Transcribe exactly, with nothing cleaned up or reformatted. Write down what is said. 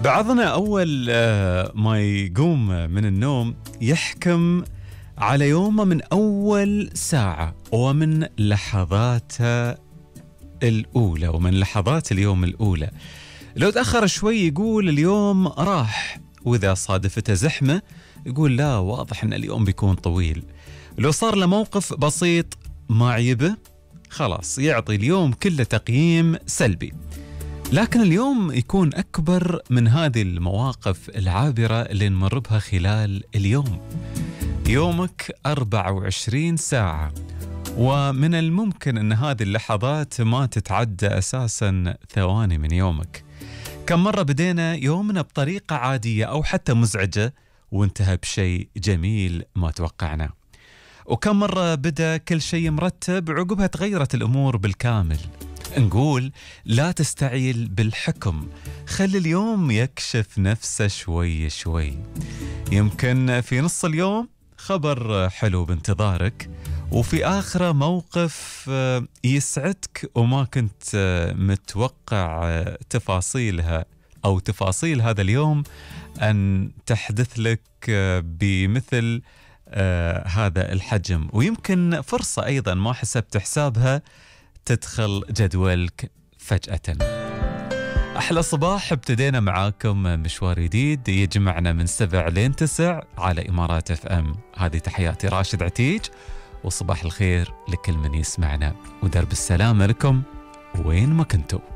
بعضنا أول آه، ما يقوم من النوم يحكم على يومه من أول ساعة ومن لحظاته الأولى ومن لحظات اليوم الأولى. لو تأخر شوي يقول اليوم راح، وإذا صادفته زحمة يقول لا واضح أن اليوم بيكون طويل. لو صار له موقف بسيط ما عيبه خلاص يعطي اليوم كله تقييم سلبي. لكن اليوم يكون أكبر من هذه المواقف العابرة اللي نمر بها خلال اليوم. يومك أربعة وعشرين ساعة، ومن الممكن أن هذه اللحظات ما تتعدى أساساً ثواني من يومك. كم مرة بدينا يومنا بطريقة عادية أو حتى مزعجة وانتهى بشيء جميل ما توقعناه، وكم مرة بدأ كل شيء مرتب عقبها تغيرت الأمور بالكامل. نقول لا تستعيل بالحكم، خلي اليوم يكشف نفسه شوي شوي. يمكن في نص اليوم خبر حلو بانتظارك، وفي آخره موقف يسعدك وما كنت متوقع تفاصيلها أو تفاصيل هذا اليوم أن تحدث لك بمثل آه هذا الحجم. ويمكن فرصة أيضا ما حسبت حسابها تدخل جدولك فجأة. أحلى صباح، ابتدينا معاكم مشوار جديد يجمعنا من سبع لين تسع على إمارات اف ام. هذه تحياتي راشد عتيج، وصباح الخير لكل من يسمعنا، ودرب السلامة لكم وين ما كنتوا.